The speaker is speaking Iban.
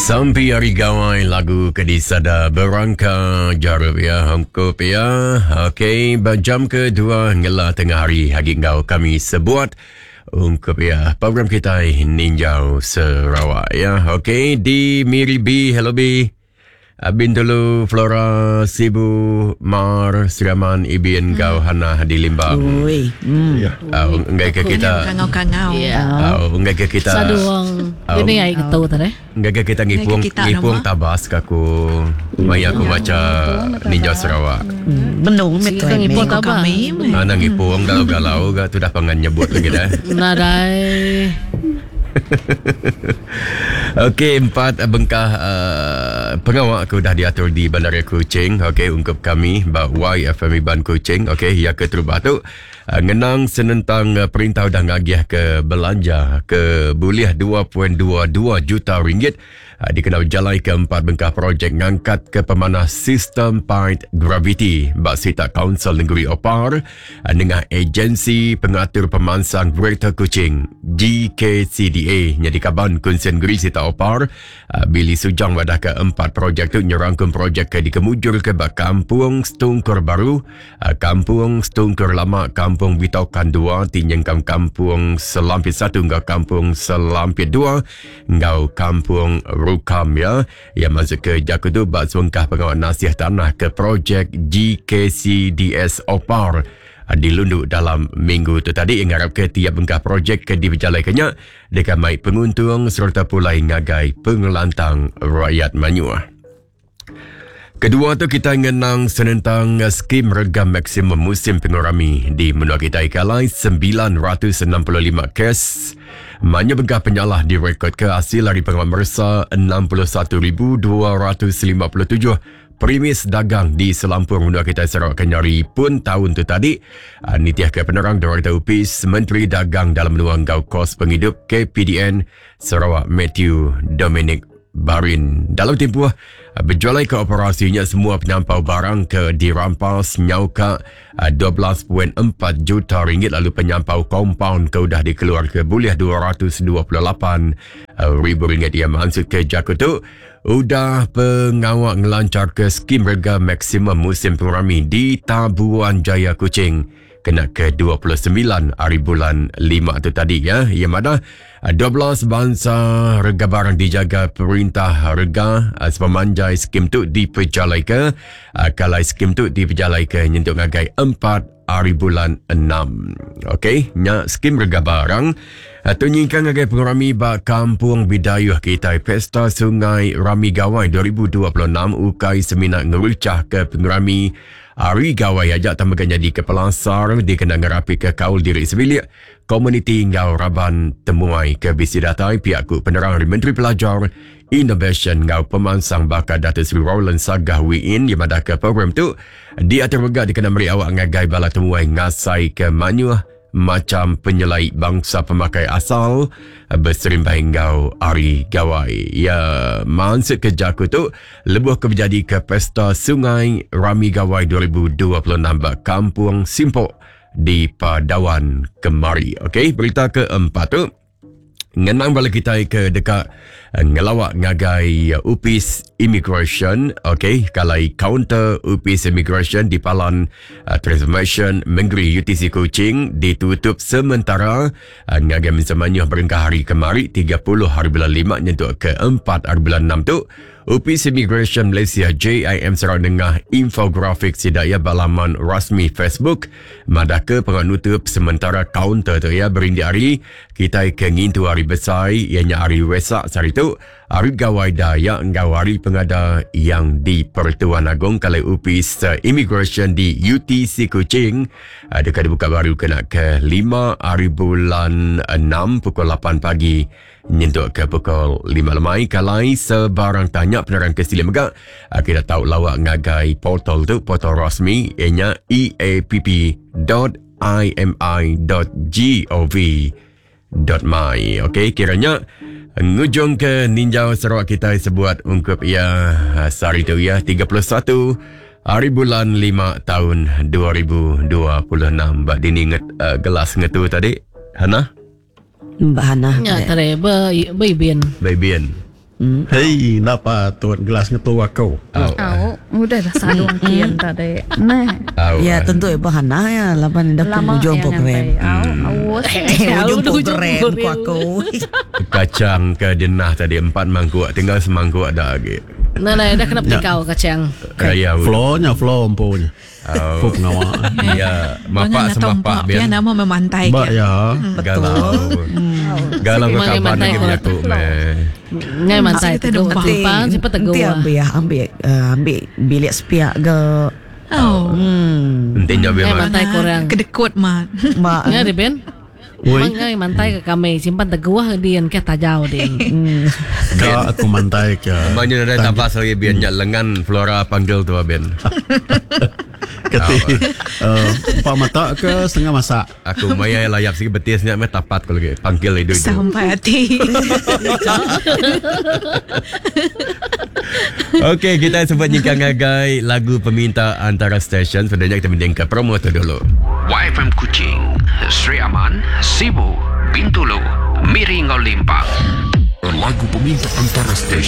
Sampi Hari Gawai lagu ke disada berangka jarup ya hongkup ya. Okey, ba jam kedua ngela tengah hari agi enggau kami sebuat ungkup ya program kitai Ninjau Sarawak ya. Okey, di Miri B, hello B. Bintulu, Flora, Sibu, Mar, Sri Aman, Ibin, enggau Hanah di Limbang. Ui. Hmm. Ya. Uh, enggai ke kita Kangau-kangau. Ya. Enggai ke kita Saduang. Ini ai ketu tadi. Enggai ke kita ngipung Enggai ke kita ngipung nama? tabas ke aku maya aku maca Ninjau Sarawak. Benung mit Sigi tu ke ngipung ni. tabas. Kami. Mana ngipung galau-galau ga tu dah pangan nyebut lagi dah. Nadai. Okey, empat bengkah uh, pengawa ke udah diatur di Bandaraya Kuching. Okey, ungkup kami ba YFM Iban Kuching. Okey, yang keterubah tu uh, ngenang senentang uh, perintah udah ngagih ke belanja ke bulih 2.22 juta ringgit uh, dikena berjalai ke empat bengkah projek ngangkat ke pemanah sistem paint gravity ba Sita Council Negeri Opar uh, dengan agensi pengatur pemansang Greater Kuching GKCDA nyadi kaban Kunsian Negeri Sita Opar uh, Billy Sujang wadah ke empat projek tu nyerangkum projek ke dikemujur ke ba Kampung Stungkur Baru, uh, Kampung Stungkur Lama, Kampung Bitokan 2, Tinyengkam Kampung Selampit 1 enggau Kampung Selampit 2 enggau Kampung Rukam ya. Yang masuk ke jaku tu ba sebengkah pengawal nasih tanah ke projek GKCDS Opar dilunduk dalam minggu tu tadi yang ngarap ke tiap bengkah projek ke diberjalaikannya dekat mai penguntung serta pulai ngagai pengelantang rakyat Manyuah. Kedua tu kita ngenang senentang skim rega maksimum musim pengurami di menua kita ikalai 965 kes. Manya bengkah penyalah direkod ke hasil dari pengawal mersa 61,257 premis dagang di selampur menua kita Sarawak Kenyari pun tahun tu tadi. Nitiah ke penerang Direktur Upis Menteri Dagang Dalam Menua Enggau Kos Penghidup KPDN Sarawak Matthew Dominic Barin. Dalam tempoh berjualai ke operasinya semua penyampau barang ke dirampas nyauka 12.4 juta ringgit lalu penyampau kompaun ke udah dikeluar ke boleh 228 ribu ringgit. Ia maksud ke jaku tu udah pengawak ngelancar ke skim rega maksimum musim pengurami di Tabuan Jaya Kuching kena ke 29 hari bulan 5 tu tadi ya. Ia mana 12 bangsa rega barang dijaga perintah rega sepemanjai skim tu diperjalai ke kalau skim tu diperjalai ke nyentuk ngagai 4 hari bulan 6. Okey, nya skim rega barang tu nyingkang ngagai pengurami ba Kampung Bidayuh kita Pesta Sungai Rami Gawai 2026 ukai semina ngerucah ke pengurami Hari Gawai ajak tambah jadi ke pelasar dikena ngerapi ke kaul diri sebilik komuniti ngau raban temuai ke bisi datai pihak ku penerang dari Menteri Pelajar Innovation ngau Pemansang Bakar Datuk Seri Roland Sagah Wiin di mana ke program tu diatur mega dikena meri awak ngagai bala temuai ngasai ke manyuh macam penyelai bangsa pemakai asal berserimbai ngau Hari Gawai. Ya, maksud kerja aku tu lebuh ke berjadi ke Pesta Sungai Rami Gawai 2026 ba Kampung Simpok di Padawan Kemari. Okey, berita keempat tu ngenang bala kita ke dekat ngelawak ngagai Upis Immigration. Okey, kalau counter Upis Immigration di Palan Transformation Negeri UTC Kuching ditutup sementara ngagai mensemanyuh berengkah hari kemari 30 hari bulan 5 nyentuk ke 4 hari bulan 6 tu. Upis Immigration Malaysia JIM Sarawak Nengah infografik sidaya balaman rasmi Facebook madaka penganutup sementara kaunter tu ya berindi hari kita ke ngintu hari besar ianya hari Wesak sehari tu hari Gawai Dayak ngau hari pengada yang di Pertuan Agong kalau Upis Immigration di UTC Kuching dekat dibuka baru kena ke 5 hari bulan 6 pukul 8 pagi nyentuk ke pukul 5 lemai. Kalai sebarang tanya penerang ke sila megak kita tahu lawak ngagai portal tu portal rasmi ianya eapp.imi.gov.my. Okey, kiranya ngujung ke Ninjau Sarawak kita sebuat ungkup ia sehari tu ya 31 hari bulan 5 tahun 2026. Bak dini nget, gelas ngetu tadi Hana? Mbak Hana. Ya, tadi be ibin. Be ibin. Hei, enda patut gelas ngetu aku. Au. Au, udah dah sadung kian tadi. Nah. Au. Ya tentu ibu Hana ya laban dah Lama penghujung ya program. ngantai. Au, aus. Eh, hujung Hujung program ku program. aku. Kacang ke denah tadi empat mangkuk tinggal semangkuk dah lagi. Nah, nah, dah kena petikau kacang. Raya. Flow nya flow empu nya. Au. Empu pengawa. Ya, mapak semapak biar biar nama memantai Ba ke. ya. galau. Galau ke Memang kaban mantai lagi kalau menyaku meh. Ngai mantai Kita teguh. dempak. Tumpang cepat teguh. Nanti ambil ya, ambil eh, ambil bilik sepiak ke. Oh. Hmm. Nanti jauh Ngai biar mantai korang. Kedekut mat. Mak. Ngai di Ben. Oi. Mang ngai mantai ke kami simpan teguh dian ke tajau dian. Ka aku mantai ke. Maknanya ada tabas lagi biar nyak lengan Flora panggil tu Ben. Kati. Eh, empat mata ke setengah masak. Aku maya layap sikit betis nyak meh tapat aku lagi panggil itu itu. Sampai hati. Okey, kita sempat nyingkang ngagai lagu peminta antara stesen. Sebenarnya kita mending ke promo tu dulu. YFM Kuching, Sri Aman, Sibu, Bintulu, Miri Ngau Limpang. Lagu peminta antara stesen.